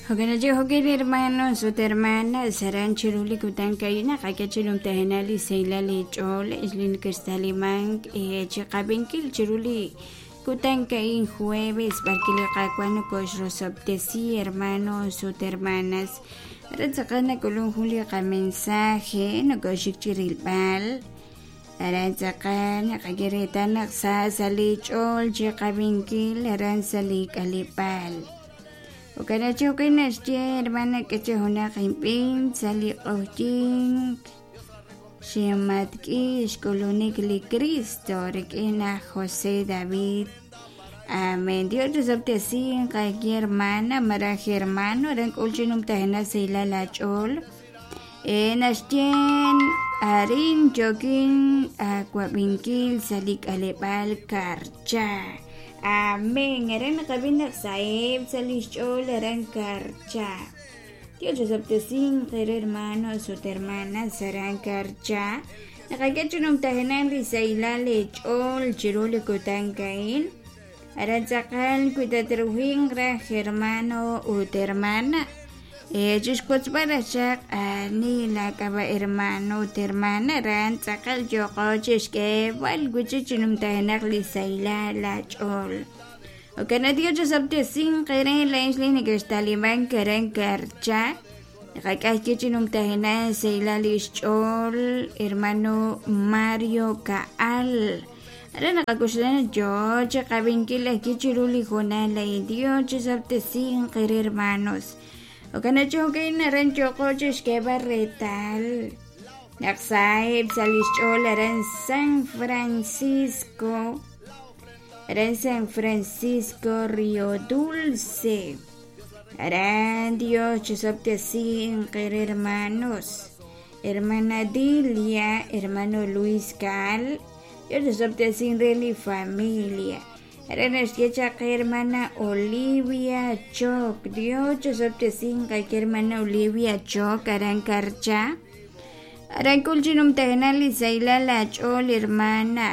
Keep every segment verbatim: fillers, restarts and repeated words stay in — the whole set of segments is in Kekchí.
Jo'kan jo'kan hermanos ut hermanas aran chiru li kutan a'in naqak'e chi numtajenaq li sahilal li ch'ool li neke'xtalimank chiqab'inkil chiru li kutan a'in jueves b'arki li Qaawa' nokoxrosob'tesi hermanos ut hermanas aran tz'aqal nak'ulun jun li qamensaje nokoxik chi rilb'al aran tz'aqal naqak'e reetal naq sa sa' li ch'ool chiqab'inkil aran sa' li k'aleb'aal. Jo'kan jo'kan naxye hermana k'e junaq inb'in sa' li q'oqyink xinmatk'i xk'ulunik li Cristo rik'in aj José David. Amén. Dios rosob'tesinq qaki hermana maraj hermano aran k'ul chi numtajenaq sahilal aach'ool naxye arin yokin aawab'inkil sa' li k'aleb'aal Karcha. Amén. Aran naqab'in naq saheb' sa' li xch'ool aran Karcha. Dios rosob'tesinq qere hermanos ut hermanas aran Karcha. Naqak'e chi numtajenaq li sahilal ch'ool chiru li kutan a'in. Aran tz'aqal wi tatruhinq raj hermano ut hermana. Chixwotzb'al raj chaq ani laak'ab'a' hermano ut hermana aran tz'aqal yo'qo chixk'eeb'al wi'chik chi numtajenaq li sahilal aach'ool. Jo'kan Dios rosob'tesinq qere laa'in li neke'xtalimank aran Karcha. Naqak'e chi numtajenaq sahilal li xch'ool hermano Mario Kaal. Aran naqak'oxla yoo chiqab'inkil ajwi' chiru li hoonal a'in. Dios rosob'tesinq qere hermanos. Jo'kan jo'kan aran yo'qo chixk'eeb'al reetal naq saheb' sa' li xch'ool aran San Francisco, aran San Francisco Río Dulce. Aran Dios rosob'tesinq qere hermanos, hermana Dilia, hermano Luis Cal, Dios rosob'tesinq re li familia. Aran naxye chaq hermana Olivia Choc, Dios rosob'tesinq qaki hermana Olivia Choc aran Karcha. Aran k'ul chi numtajenaq li sahilal aach'ool hermana.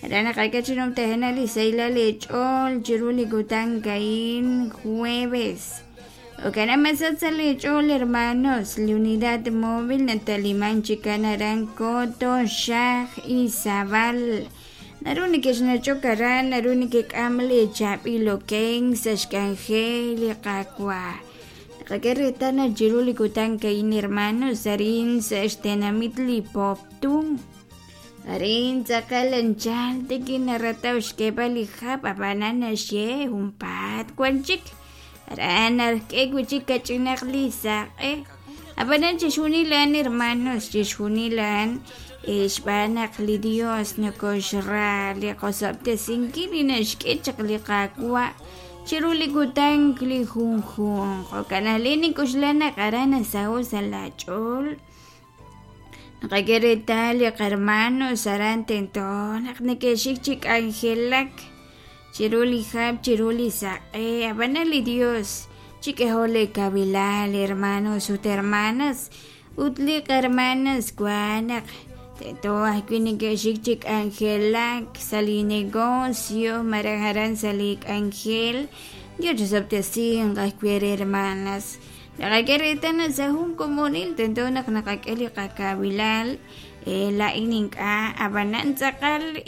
Aran naqak'e chi numtajenaq li sahilal ch'ool chiru li kutan a'in jueves. Jo'kan masat sa' li ch'ool hermanos, li unidad móvil nataliman chikan aran Coto, Xaj, Izabal. Naru neke'xnach'ok aran, naru nekek'am li chaab'il okenk sa' xk'anjel li Qaawa'. Naqak'e reetal naq chiru li kutan a'in hermanos arin sa' xtenamit li Poptún. Arin tz'aqal anchal tikin narataw xk'eeb'al li hab' ab'anan naxye junpaat wan chik. Aran nark'e wi'chik kach'inaq li saq'e. Ab'anan chixjunil a'an hermanos, chixjunil a'an xb'aan naq li Dios nokoxra li qosob'tesinkil li naxk'e chaq li Qaawa' chiru li kutan li junjunq. Jo'kan ajwi' nink'oxla naq aran nasaho' sa' laach'ool. Naqak'e reetal li qarmanos aran tento naq neke'xik chi k'anjelak chiru li hab' chiru li saq'e. Ab'anan li Dios chik'eho li kabilal hermanos ut hermanas ut li qarmanas wan naq tento ajwi' neke'xik chi k'anjelak sa' li negocio maraj aran sa' li k'anjel. Dios rosob'tesinq ajwi' re hermanas. Naqak'e reetal naq sa' jun komonil tento naq naqak'e li qakabilal laa'in ink'a' ab'anan tz'aqal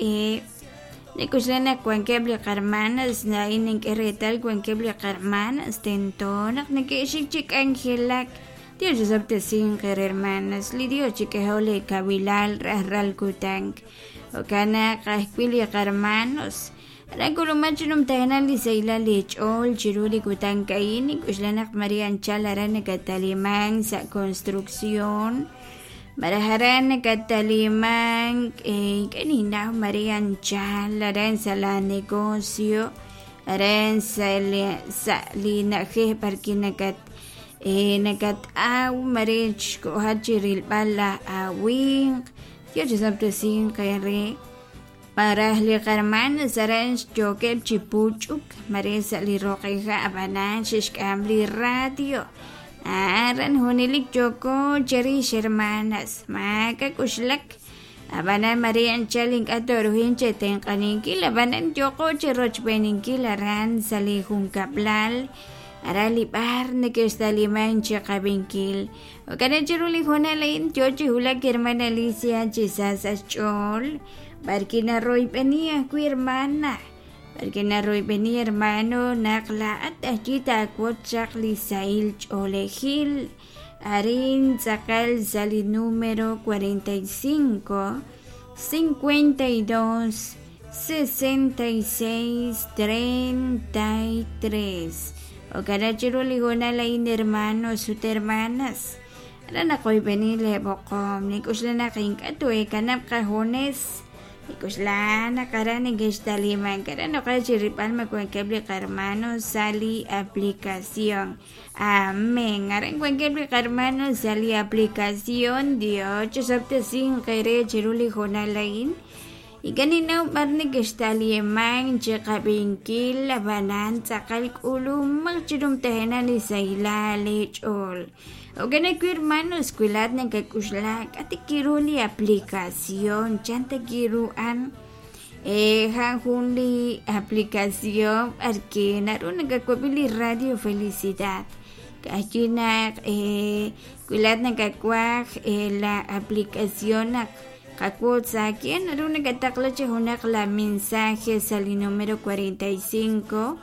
nik'oxla naq wankeb' li qarmanas laa'in nink'e reetal wankeb' li qarmanas tento naq neke'xik chi k'anjelak. Dios rosob'tesinq qere hermanas, li Dios chik'eho li kabilal rajlal kutan. Jo'kan naq ajwi' li qarmanos aran k'uluman chi numtajenaq li sahilal li ch'ool chiru li kutan a'in. Nik'oxla naq Maria anchal aran nakatalimank sa' construcción maraj aran nakatalimank ink'a' ninnaw Maria anchal aran sa' la negocio aran sa' sa' li na'ajej b'arki nakat nakat'aw mare xko'jat chi rilb'al laj awinq. Dios rosob'tesinq qere paraj li qarmanas aran xyookeb' chi puch'uk mare sa' li roqija' ab'anan xe'xk'am li radio. Aran junelik yooko cherix hermanas maak'a k'uxlak. Ab'anan Maria anchal ink'a' toruhin chetenq'aninkil ab'anan yooko chirochb'eninkil aran sa' li junkab'lal. Aran li b'ar neke'xtaliman chi qab'inkil. Jo'kan chiru li hoonal a'in yo chi wulak hermana Alicia chi sa sa' xch'ool b'ar kinaroyb'eni ajwi' hermana b'ar kinaroyb'eni hermano naq laa'at ajwi' taawotz chaq li sahil ch'oolejil arin tz'aqal sa' li número cuarenta y cinco, cincuenta y dos, sesenta y seis, treinta y tres. Jo'kan chiru li hoonal a'in hermanos ut hermanas aran naqoyb'eni leeb'oqom nik'uxla naq ink'a' too'eekanab' qajunes nik'uxla naq aran neke'xtaliman aran noqaj chi rilb'al ma wankeb' li qarmanos sa' li aplicación. Amén. Aran wankeb' li qarmanos sa' li aplicación. Dios chisob'tesinq eere chiru li hoonal a'in. Ink'a' ninnaw b'ar neke'xtaliman chi qab'inkil ab'anan tz'aqal k'ulumaq chiru mtajenaq li sahilal leech'ool. Jo'kan ajwi' hermanos wi laa'at nakak'uxla k'a' ta kiru li aplicación chan ta kiru an eh, jan jun li aplicación b'ar ke naru nakawab'i li Radio Felicidad. Ka'ajwi' naq eh, wi laa'at nakawaj eh, la aplicación naq qawotz aak'in naru nakataqla chi junaq la mensaje sa' li número cuarenta y cinco,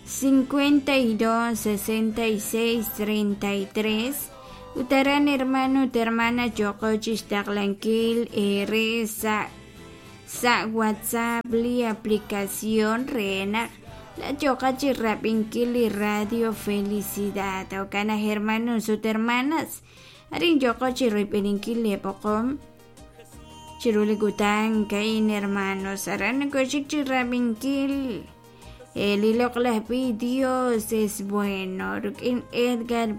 cincuenta y dos, sesenta y seis, treinta y tres. Ut aran hermano ut hermana yooqo chixtaqlankil eere sa' sa' WhatsApp li aplicación re naq laa'at yooqat chirab'inkil li Radio Felicidad. Jo'kan aj hermanos ut hermanas arin yooqo chiroyb'eninkil leeb'oqom chiru li kutan ka'in hermanos aran nakoxik chirab'inkil li loq'laj b'i Dios es bueno rik'in Edgar